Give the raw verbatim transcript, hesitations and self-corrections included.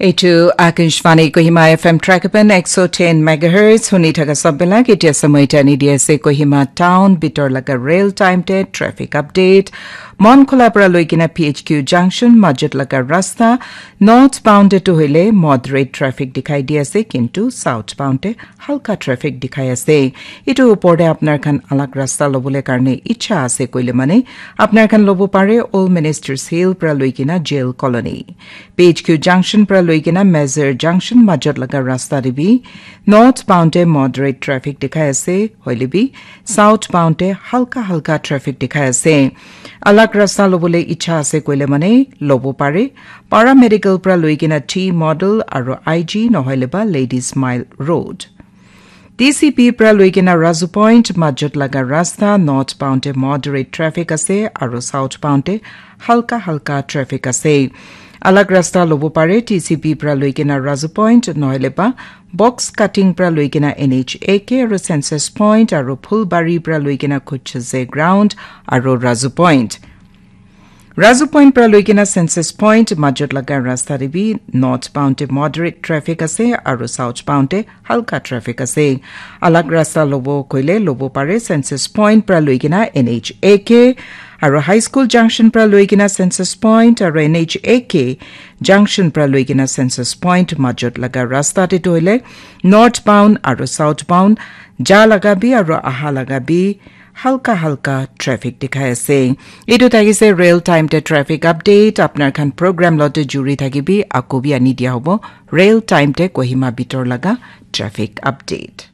Etu Akashvani Kohima F M Trakapan ek so ten megahertz huni thaka sabela ketia samai tani dia se Kohima town bitor laga rail time te traffic update. Mon khula pra loikena P H Q junction majut laga rasta northbound te tu hoile moderate traffic dikhai dia se kintu southbound te halka traffic dikhai ase. Etu upor te apnar khan alag rasta lobole karne icha ase koile mane apnar khan lobo pare Old Ministers Hill pra loikena Jail Colony. P H Q junction pra loikena Mazar junction majot laga rasta te bi northbound te moderate traffic dikhai ase hoile bi southbound te halka halka traffic dikhai ase. Alag rasta lobole icha ase koile mane lobo pare. Paramedical pra loikena T Model aro I G nohoile ba Ladies Mile Road. T C P pra loikena Razu Point majot laga rasta northbound te moderate traffic ase aro southbound te halka halka traffic ase. Alag rasta lobo pare T C P pra loikena Razu Point nohoile ba box cutting pra loikena N H A K aro census point aro Phulbari pra loikena Khuchze ground aro Razu Point. Razu Point pra loikena census point majot laga rasta te bi northbound te moderate traffic ase aro southbound te halka traffic ase. Alag rasta lobo koile lobo pare census point pra loikena N H A K aro high school junction pra loikena census point aro N H A K junction pra loikena census point majot laga rasta te toile northbound aro southbound ja laga bi aro aha laga bi halka halka traffic dikhai ase. Etu thakise rail time te traffic update. Apnar khan program lote juri thakibi, ako bi ani dia hobo rail time te Kohima bitor laga traffic update.